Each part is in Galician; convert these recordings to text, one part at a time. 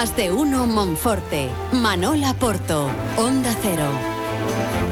Más de uno Monforte. Manola Porto. Onda Cero.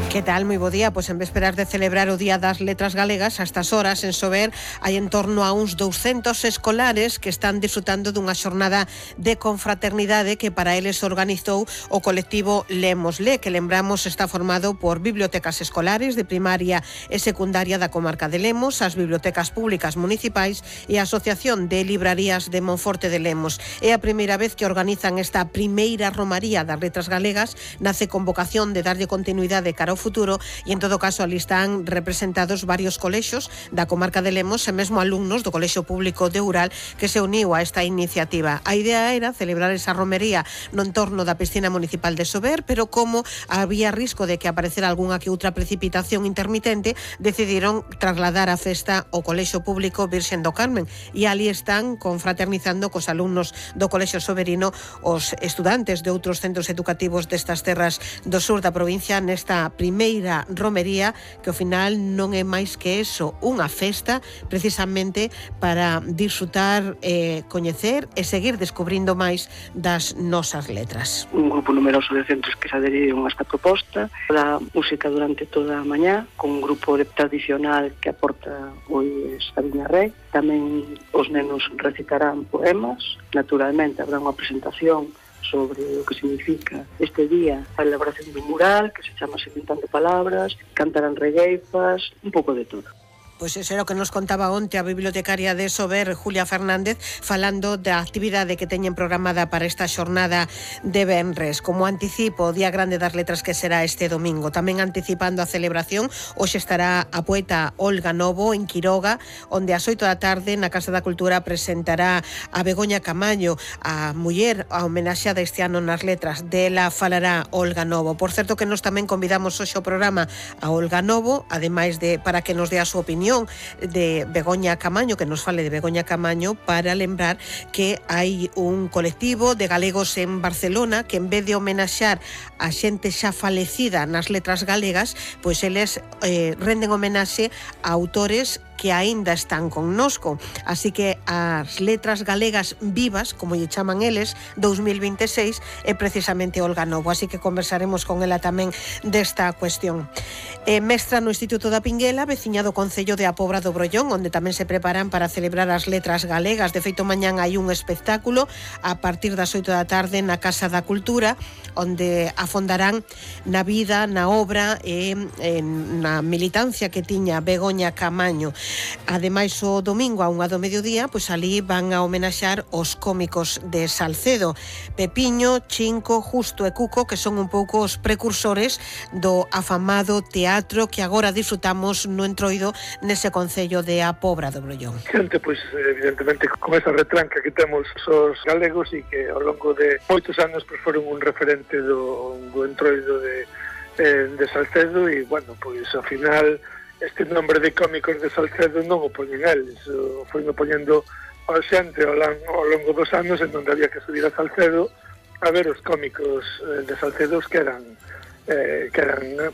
Que tal? Moi bo día. Pois en vésperas de celebrar o Día das Letras Galegas, a estas horas en Sober hai en torno a uns 200 escolares que están disfrutando dunha xornada de confraternidade que para eles organizou o colectivo Lemosle, que lembramos está formado por bibliotecas escolares de primaria e secundaria da comarca de Lemos, as bibliotecas públicas municipais e a Asociación de Librarías de Monforte de Lemos. É a primeira vez que organizan esta primeira romaría das Letras Galegas, nace con vocación de darlle continuidade cara ao futuro e en todo caso ali están representados varios colexos da comarca de Lemos e mesmo alumnos do Colexio Público de Ural que se uniu a esta iniciativa. A idea era celebrar esa romería no entorno da piscina municipal de Sober, pero como había risco de que aparecera algunha que outra precipitación intermitente, decidiron trasladar a festa ao Colexio Público Virxen do Carmen e ali están confraternizando cos alumnos do Colexio Soberino, os estudantes de outros centros educativos destas terras do sur da provincia nesta primeira romería que ao final non é máis que eso, unha festa precisamente para disfrutar, coñecer e seguir descubrindo máis das nosas letras. Un grupo numeroso de centros que se adheriron a esta proposta, da música durante toda a mañá, con un grupo tradicional que aporta pois a Viña Rei. Tamén os nenos recitarán poemas, naturalmente habrá unha presentación sobre o que significa este día, a elaboración dun mural que se chama Inventando Palabras, cantarán regueifas, un pouco de todo. Pois eso era o que nos contaba onte a bibliotecaria de Sober, Julia Fernández, falando da actividade que teñen programada para esta xornada de venres. Como anticipo, o Día Grande das Letras que será este domingo. Tamén anticipando a celebración, hoxe estará a poeta Olga Novo en Quiroga, onde ás 8 da tarde na Casa da Cultura presentará a Begoña Camaño, a muller a homenaxeada este ano nas letras. Dela falará Olga Novo. Por certo que nos tamén convidamos hoxe ao programa a Olga Novo, ademais de para que nos dé a súa opinión de Begoña Camaño, que nos fale de Begoña Camaño, para lembrar que hai un colectivo de galegos en Barcelona que en vez de homenaxear a xente xa falecida nas letras galegas, pois eles renden homenaxe a autores que aínda están connosco. Así que as letras galegas vivas, como lle chaman eles, 2026, é precisamente Olga Novo. Así que conversaremos con ela tamén desta cuestión. Mestra no Instituto da Pinguela, veciña do Concello de A Pobra do Brollón, onde tamén se preparan para celebrar as letras galegas. De feito, mañán hai un espectáculo a partir das 8 da tarde na Casa da Cultura, onde afondarán na vida, na obra e na militancia que tiña Begoña Camaño. Ademais, o domingo a 1 do mediodía, pois ali van a homenaxear os cómicos de Salcedo, Pepiño, Chinco, Justo e Cuco, que son un pouco os precursores do afamado teatro que agora disfrutamos no Entroido, nese concello de A Pobra do Brollón. Xente, pois, evidentemente, con esa retranca que temos os galegos e que ao longo de moitos anos pois, foron un referente do Entroido de Salcedo e, bueno, pois, ao final este nombre de cómicos de Salcedo non o poñen eles, foi poñendo a xente ao longo dos anos en onde había que subir a Salcedo a ver os cómicos de Salcedo que eran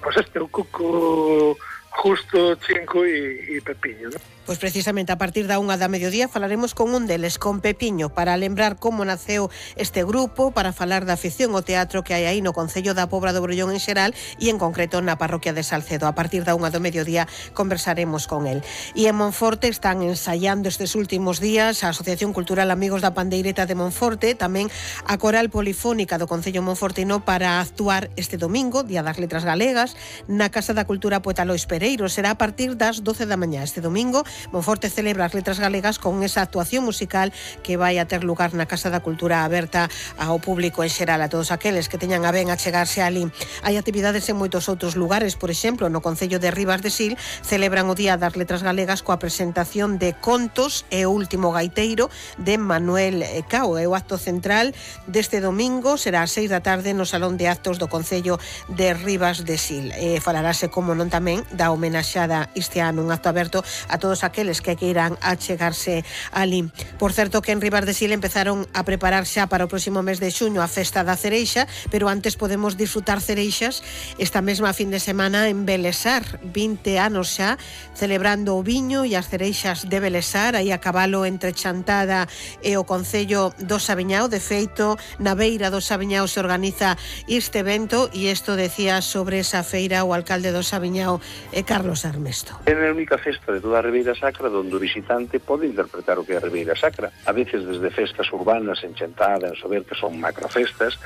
pois o Cuco, Justo, Chinco e Pepiño, non? Pois precisamente a partir da 1 da mediodía falaremos con un deles, con Pepiño, para lembrar como naceu este grupo, para falar da afición ao teatro que hai aí no Concello da Pobra do Brollón en xeral e en concreto na parroquia de Salcedo. A partir da 1 do mediodía conversaremos con el. E en Monforte están ensaiando estes últimos días a Asociación Cultural Amigos da Pandeireta de Monforte, tamén a Coral Polifónica do Concello Monfortino para actuar este domingo, Día das Letras Galegas, na Casa da Cultura Poeta Lois Pereiro. Será a partir das 12 da mañá este domingo. Monforte celebra as letras galegas con esa actuación musical que vai a ter lugar na Casa da Cultura aberta ao público en xeral, a todos aqueles que teñan a ben a chegarse ali. Hai actividades en moitos outros lugares, por exemplo, no Concello de Ribas de Sil celebran o Día das Letras Galegas coa presentación de contos e o último gaiteiro de Manuel Cao. É o acto central deste domingo, será ás 6 da tarde no Salón de Actos do Concello de Ribas de Sil. Falarase, como non tamén, da homenaxada este ano, un acto aberto a todos todos aqueles que queiran achegarse ali. Por certo que en Ribas de Sil empezaron a preparar xa para o próximo mes de xuño a festa da cereixa, pero antes podemos disfrutar cereixas esta mesma fin de semana en Belesar, 20 anos xa celebrando o viño e as cereixas de Belesar, aí a cabalo entre Chantada e o Concello do Saviñao. De feito, na beira do Saviñao se organiza este evento e isto decía sobre esa feira o alcalde do Saviñao, Carlos Armesto. É a única festa de toda a Ribeira Sacra onde o visitante pode interpretar o que é a Ribeira Sacra. A veces desde festas urbanas en Chantada, en Sober, que son macrofestas,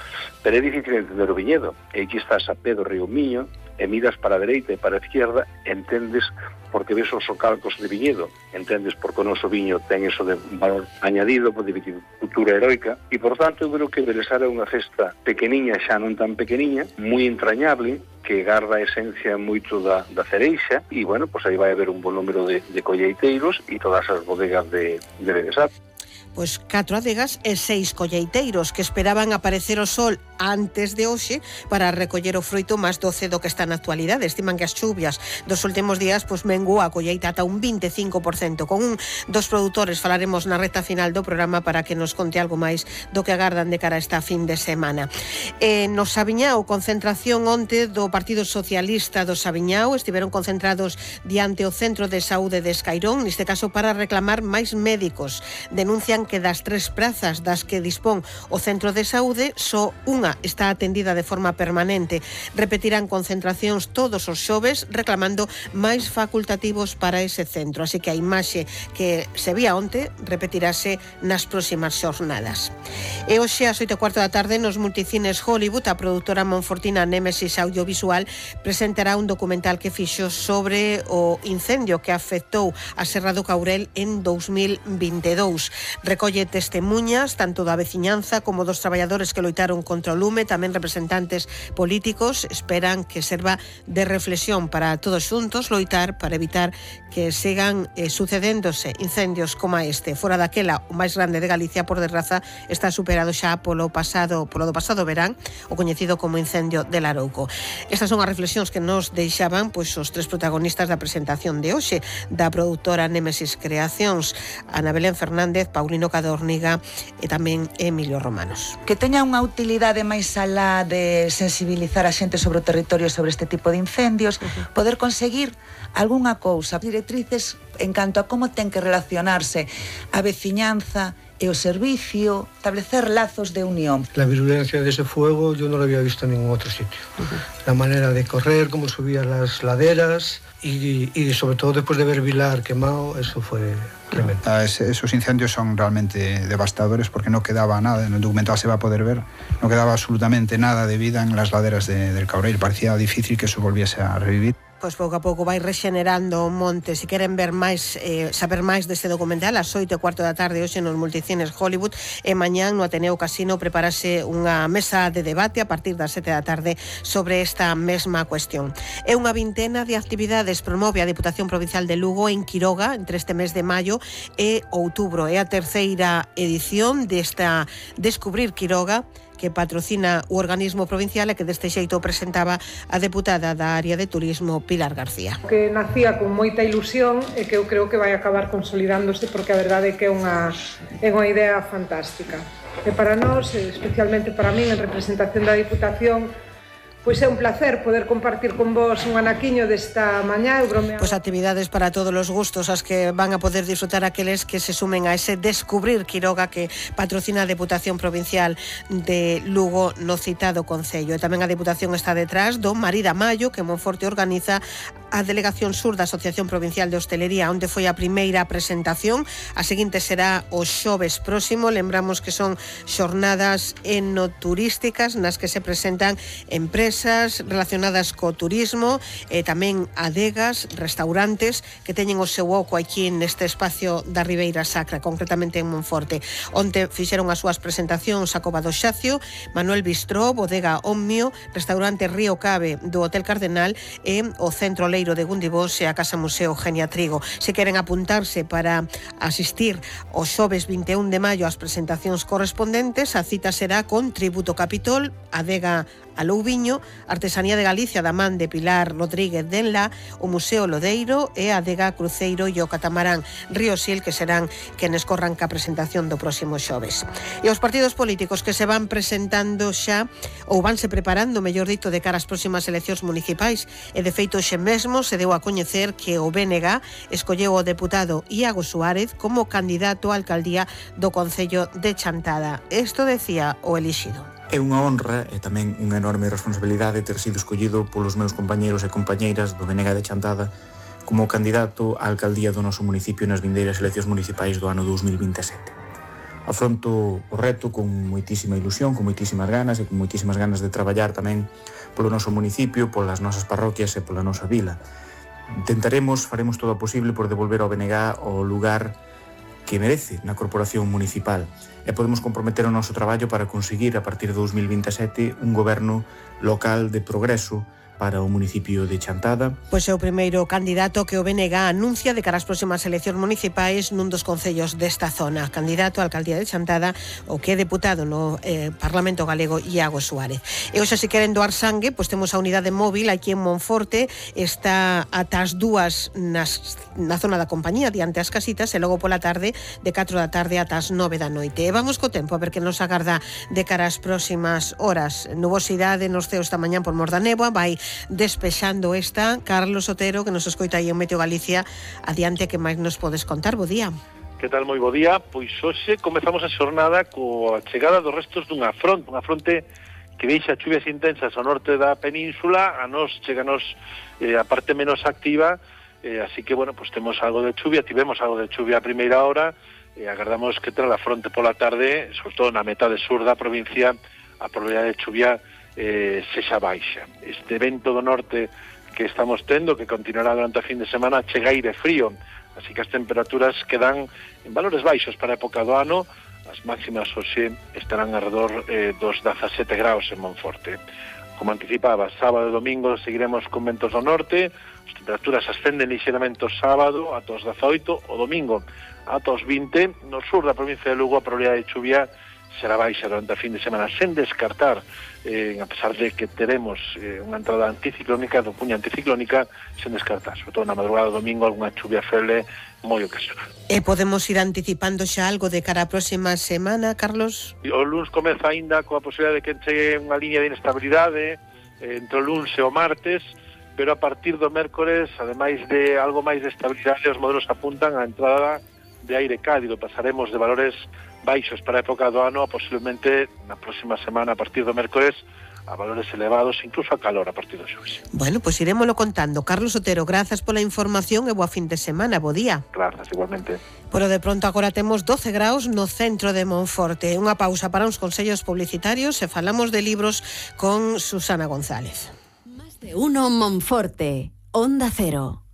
pero é difícil entender o viñedo. E aquí estás a pé do río Miño, e miras para a dereita e para a izquierda, entendes porque ves os socalcos de viñedo, entendes porque o noso viño ten eso de valor añadido, de viticultura heroica, e por tanto eu creo que Belesar é unha festa pequeniña, xa non tan pequeniña, moi entrañable, que garda a esencia moito da cereixa, e bueno, pois aí vai haber un bon número de colleiteiros e todas as bodegas de Belesar. Pois 4 adegas e 6 colleiteiros que esperaban aparecer o sol antes de hoxe para recoller o froito máis doce do que está na actualidade. Estiman que as chuvias dos últimos días pois mengou a colleita ata un 25%. Con un dos produtores falaremos na recta final do programa para que nos conte algo máis do que agardan de cara a esta fin de semana. No Saviñao, concentración onte do Partido Socialista do Saviñao, estiveron concentrados diante o Centro de Saúde de Escairón, neste caso para reclamar máis médicos. Denuncian que das 3 prazas das que dispón o Centro de Saúde, só unha está atendida de forma permanente. Repetirán concentracións todos os xoves reclamando máis facultativos para ese centro. Así que a imaxe que se vía onte repetirase nas próximas xornadas. E hoxe ás 8:15 da tarde nos multicines Hollywood, a produtora monfortina Némesis Audiovisual presentará un documental que fixo sobre o incendio que afectou a Serra do Caurel en 2022. Recolle testemunhas tanto da veciñanza como dos traballadores que loitaron contra o lume, tamén representantes políticos. Esperan que serva de reflexión para todos xuntos loitar para evitar que sigan sucedéndose incendios como este. Fora daquela, o máis grande de Galicia, por desgraza, está superado xa polo do pasado verán, o coñecido como incendio de Larouco. Estas son as reflexións que nos deixaban pois os 3 protagonistas da presentación de hoxe, da produtora Némesis Creacións, Ana Belén Fernández, Paulino Cadorniga e tamén Emilio Romanos. Que teña unha utilidade máis alá de sensibilizar a xente sobre o territorio sobre este tipo de incendios, poder conseguir algunha cousa, directrices en canto a como ten que relacionarse a veciñanza e o servicio, establecer lazos de unión. La virulencia de ese fuego yo no lo había visto en ningún otro sitio. La manera de correr, cómo subía las laderas y sobre todo después de ver Vilar quemado, eso fue tremendo. Esos incendios son realmente devastadores porque no quedaba nada, en el documental se va a poder ver, no quedaba absolutamente nada de vida en las laderas del Caurel. Parecía difícil que eso volviese a revivir. Pois pouco a pouco vai rexenerando o monte. Se queren ver máis, saber máis deste documental, ás 8:15 da tarde hoxe nos multicines Hollywood, e mañán no Ateneo Casino preparase unha mesa de debate a partir das 7 da tarde sobre esta mesma cuestión. É unha vintena de actividades promove a Diputación Provincial de Lugo en Quiroga entre este mes de maio e outubro. É a terceira edición desta Descubrir Quiroga, que patrocina o organismo provincial e que deste xeito presentaba a deputada da área de turismo Pilar García. Que nacía con moita ilusión e que eu creo que vai acabar consolidándose porque a verdade é que é unha idea fantástica. E para nós, especialmente para min, en representación da Diputación, pois é un placer poder compartir con vos un anaquiño desta mañá. Pois actividades para todos os gustos, as que van a poder disfrutar aqueles que se sumen a ese Descubrir Quiroga que patrocina a Deputación Provincial de Lugo no citado concello. E tamén a Deputación está detrás do Marida Maio, que Monforte organiza a Delegación Sur da Asociación Provincial de Hostelería, onde foi a primeira presentación. A seguinte será o xoves próximo. Lembramos que son xornadas enoturísticas nas que se presentan empresas relacionadas co turismo e tamén adegas, restaurantes que teñen o seu oco aquí neste espacio da Ribeira Sacra, concretamente en Monforte. Onte fixeron as súas presentacións a Cova do Xacio, Manuel Bistró, Bodega Omnio, Restaurante Río Cabe do Hotel Cardenal e o Centro Leiro de Gundibós e a Casa Museo Genia Trigo. Se queren apuntarse para asistir o xoves 21 de maio ás presentacións correspondentes, a cita será con Tributo Capitol, Adega a Louviño, Artesanía de Galicia da man de Pilar Rodríguez Denla, o Museo Lodeiro e a Adega Cruceiro e o Catamarán Río Sil, que serán quenes corran ca presentación do próximo xoves. E os partidos políticos que se van presentando xa, ou vanse preparando, mellor dito, de cara ás próximas eleccións municipais, e de feito xe mesmo se deu a coñecer que o BNG escolleu o deputado Iago Suárez como candidato á alcaldía do Concello de Chantada. Isto decía o elixido. É unha honra e tamén unha enorme responsabilidade ter sido escollido polos meus compañeiros e compañeiras do BNG de Chantada como candidato á alcaldía do noso municipio nas vindeiras eleccións municipais do ano 2027. Afronto o reto con moitísima ilusión, con moitísimas ganas e con moitísimas ganas de traballar tamén polo noso municipio, polas nosas parroquias e pola nosa vila. Faremos todo o posible por devolver ao BNG o lugar que merece na corporación municipal e podemos comprometer o noso traballo para conseguir a partir de 2027 un goberno local de progreso para o municipio de Chantada. Pois é o primeiro candidato que o BNG anuncia de cara ás próximas eleccións municipais nun dos concellos desta zona. Candidato á alcaldía de Chantada, o que é deputado no Parlamento Galego, Iago Suárez. E hoxe, se queren doar sangue, pois temos a unidade móvil aquí en Monforte, está ata as 2 na zona da compañía, diante as casitas, e logo pola tarde, de 4 da tarde ata as 9 da noite. E vamos co tempo, a ver que nos agarda de cara ás próximas horas. Nubosidade nos ceos esta mañán por mor da néboa, vai despexando esta. Carlos Otero, que nos escoita aí en Meteo Galicia, adiante, que máis nos podes contar? Bo día. Que tal, moi bo día? Pois hoxe comezamos a xornada coa chegada dos restos unha fronte que deixa chuvias intensas ao norte da península, a nos cheganos a parte menos activa, así que, bueno, pues tivemos algo de chuvia a primeira hora, agardamos que tras a fronte pola tarde, sobre todo na metade sur da provincia, a probabilidade de chuvia sexa baixa. Este vento do norte que estamos tendo, que continuará durante a fin de semana, chega aire frío, así que as temperaturas quedan en valores baixos para a época do ano. As máximas hoxe estarán alrededor dos 17 graus en Monforte. Como anticipaba, sábado e domingo seguiremos con ventos do norte, as temperaturas ascenden lixeramente o sábado ata os 18, o domingo ata os 20, no sur da provincia de Lugo a probabilidade de chuvia será baixa durante a fin de semana, sen descartar, a pesar de que teremos unha entrada anticiclónica, do puña anticiclónica, sen descartar, sobre todo na madrugada do domingo, alguna chuvia feble moi ocasional. E podemos ir anticipando xa algo de cara á próxima semana, Carlos? O luns comeza aínda coa posibilidade de que chegue unha liña de inestabilidade entre o luns e o martes, pero a partir do mércores, ademais de algo máis de estabilidade, os modelos apuntan á entrada de aire cálido. Pasaremos de valores baixos para a época do ano a posiblemente na próxima semana, a partir do mércores, a valores elevados, incluso a calor a partir do xoves. Bueno, pois irémolo contando. Carlos Otero, grazas pola información e boa fin de semana, bo día. Grazas, igualmente. Pero de pronto agora temos 12 graus no centro de Monforte. Unha pausa para uns consellos publicitarios e falamos de libros con Susana González. Más de uno Monforte, Onda Cero.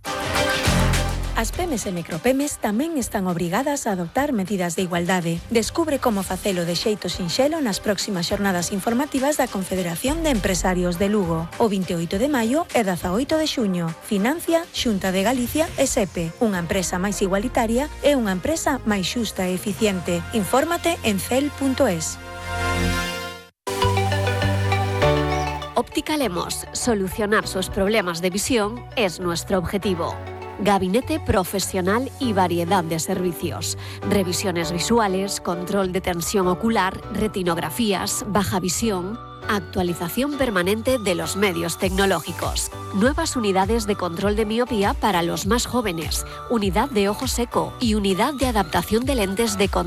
As pemes e micropemes tamén están obrigadas a adoptar medidas de igualdade. Descubre como facelo de xeito sinxelo nas próximas xornadas informativas da Confederación de Empresarios de Lugo. O 28 de maio e 18 de xuño. Financia Xunta de Galicia e SEPE. Unha empresa máis igualitaria e unha empresa máis xusta e eficiente. Infórmate en cel.es. Óptica Lemos. Solucionar sus problemas de visión es nuestro objetivo. Gabinete profesional y variedad de servicios. Revisiones visuales, control de tensión ocular, retinografías, baja visión, actualización permanente de los medios tecnológicos. Nuevas unidades de control de miopía para los más jóvenes, unidad de ojo seco y unidad de adaptación de lentes de contacto